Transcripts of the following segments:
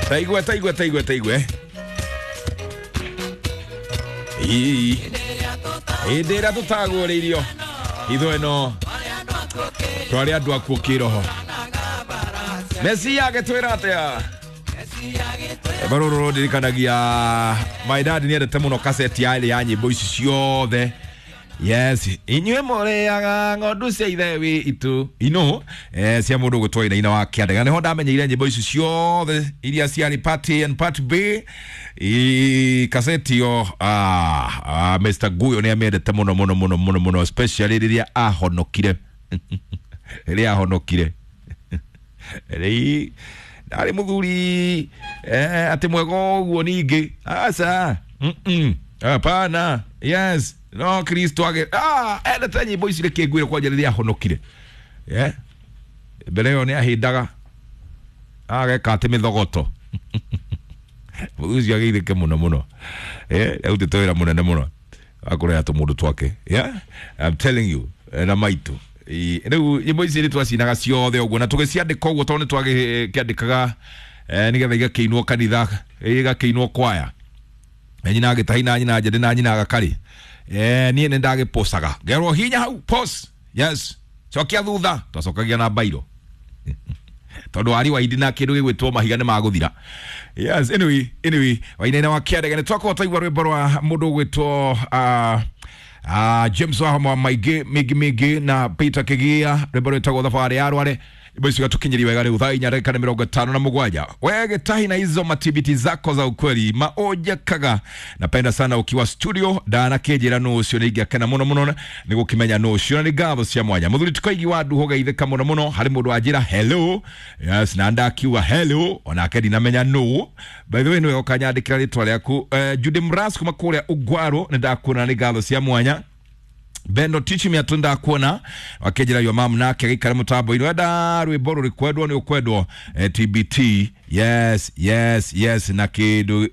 Taigue taigue taigue taigue. Ii. Hĩndĩ ĩrĩa tũtagũrĩirio hitho ĩno twarĩ andũ akuũ kĩroho. Mesia agĩtwĩra atĩa? Rũrũ rũndirikanagia my dad nĩendete mũno kaseti yarĩ ya nyĩmbo ici ciothe. Yes, inyuĩ mũrĩaga ng'ondu cia ithe witũ ino cia mũndũ ũgwĩtwo Wainaina wa Kĩandega. Nĩho ndamenyeire nyĩmbo ici ciothe iria ciarĩ part A and part B. I kaseti yo Mr. Guyo nĩ amĩendete mũno mũno mũno mũno mũno, especially rĩrĩa ahonokire. Rĩrĩa ahonokire rĩi ndarĩ mũthuri atĩ mwega ũguo ningĩ aca. Hapana. Yes, no Kristo age endete nyĩmbo ici rĩkĩ ngwĩre kwanja rĩrĩa ahonokire. Yeah. Mbere ĩyo nĩ ahĩndaga ageka atĩ mĩthogoto. Mũthuri ũcio ageithĩke mũno mũno. Arutĩte wĩra mũnene mũno wa kũrera tũmũndũ twake. Yeah, I'm telling you. Na maitũ rĩu nyĩmbo ici nĩ twacinaga ciothe ũguo na tũgĩciandĩka ũguo tondũ nĩ twagĩkĩandĩkaga nĩgetha igakĩinwo kanitha, igakĩinwo kwaya. Nyina agĩtahi na nyina njende na nyina agakarĩ. Niĩ nĩ ndagĩpocaga ngerwo hinya hau pause. Yes, cokia thutha. Twacokagia na bairo tondũ wari wa indi na kĩndũ gĩgwĩtwo mahiga nĩ magũthira. Yes, anyway Wainaina wa Kĩandega nĩ twakorwo twaigua rwĩmbo rwa mũndũ ũgwĩtwo James Wahoma maingĩ mĩingĩ mĩingĩ na Peter Kĩgia, rwĩmbo rwĩtagwo thabarĩ ya rware. Nyĩmbo icio igatukinyĩria wega rĩu thaa 4:57. We gĩtahi na hizo matibiti zako za ukweli maonjekaga. Napenda sana ukiwa studio ndanakĩnjĩra nũ ũcio nĩ ingĩakena mũno mũno nĩ gũkĩmenya nũ ũcio, na nĩ ngatho cia mwanya. Mũthuri tũkaigi wa nduho geithĩka mũno mũno harĩ mũndũ wanjĩra hello. Yes, na ndakiuga hello onake ndinamenya nũ. By the way, nĩwe ũkanyandĩkĩra rĩtwa rĩaku. Judy Mras kuma kũrĩa Ugwaro nĩ ndakuona, nĩ ngatho cia mwanya. Bendo Tichi Miatu ndakuona wakĩnjĩra yo mam nake gĩikare mũtambo-inĩ wenda rwĩmbo rũrĩ kwendwo nĩ ũkwendwo TBT. Yes, yes, yes, na kĩndũ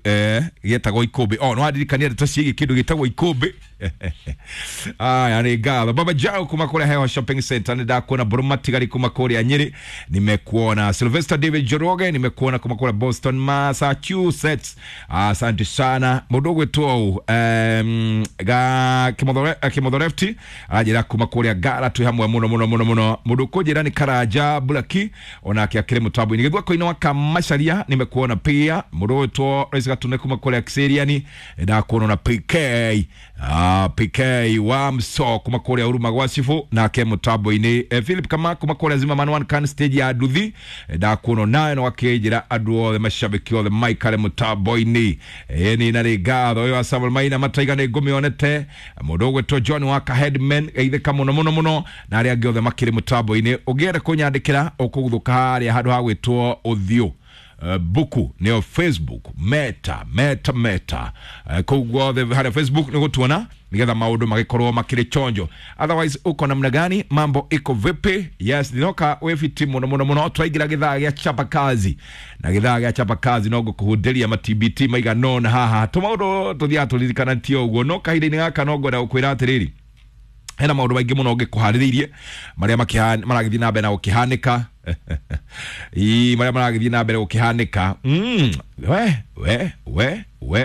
gĩtagwo ikũmbĩ. Oh, no wandirikania ndeto ciĩgiĩ kĩndũ gĩtagwo ikũmbĩ. Aya nĩ ngatho. Baba Jao kuma kũrĩa Heho Shopping Center nĩ ndakuona. Mbũrũ Matigari kuma kũrĩa Nyĩrĩ nimekuona. Sylvester David Njoroge nimekuona kuma kũrĩa Boston, Massachusetts. Asante sana. Mũndũ ũgwĩtwo ga Kĩmotho aranjĩra kuma kũrĩa Ngara twĩ hamwe mũno mũno mũno mũno. Mũndũ ũkũnjĩra nĩ Karanja Blaki onake akĩrĩ mũtambo-inĩ. Gĩthwako-inĩ wa Kamacharia nimekuona pia. Mũndũ ũgwĩtwo Rais Gatune kuma kũrĩa Kiseriani ndakuona na PK. PK wa Mso kuma kũrĩa Huruma gwa Cibũ nake mũtambo-inĩ. Philip Kama kuma kũrĩa Zimmerman One Can stage ya Nduthi ndakuona nawe na wakĩnjĩra andũ othe mashabiki othe maikare mũtambo-inĩ. Nĩ na rĩ ngatho ĩyo Samuel Maina mataiga nĩ ngũmĩonete. Mũndũ ũgwĩtwo John Waka Headman geithĩka mũno mũno mũno na arĩa angĩ othe makĩrĩ mũtambo-inĩ. Ũngĩenda kũnyandĩkĩra ũkũguthũka harĩa handũ ha gwĩtwo ũthiũ buku nĩyo Facebook meta meta meta kũu guothe harĩa Facebook nĩ gũtuona nĩgetha maũndũ magĩkorwo makĩrĩ chonjo. Otherwise uko namna gani? Mambo iko vipi? Yes, ndinoka wĩ fiti mũno mũno mũno. Twaingĩra gĩthaa gĩa chapa kazi na gĩthaa gĩa chapa kazi no ngũkũhundĩria ma TBT maigana ũna haha tũmaũndũ tũthiaga tũririkanĩtie ũguo, no kahinda-inĩ gaka no ngwenda gũkwĩra atĩrĩrĩ, hena maũndũ maingĩ mũno ngĩkũharĩrĩirie marĩa maragĩthiĩ na mbere na gũkĩhanĩka. Ii, marĩa maragĩthiĩ na mbere gũkĩhanĩka. We we we we.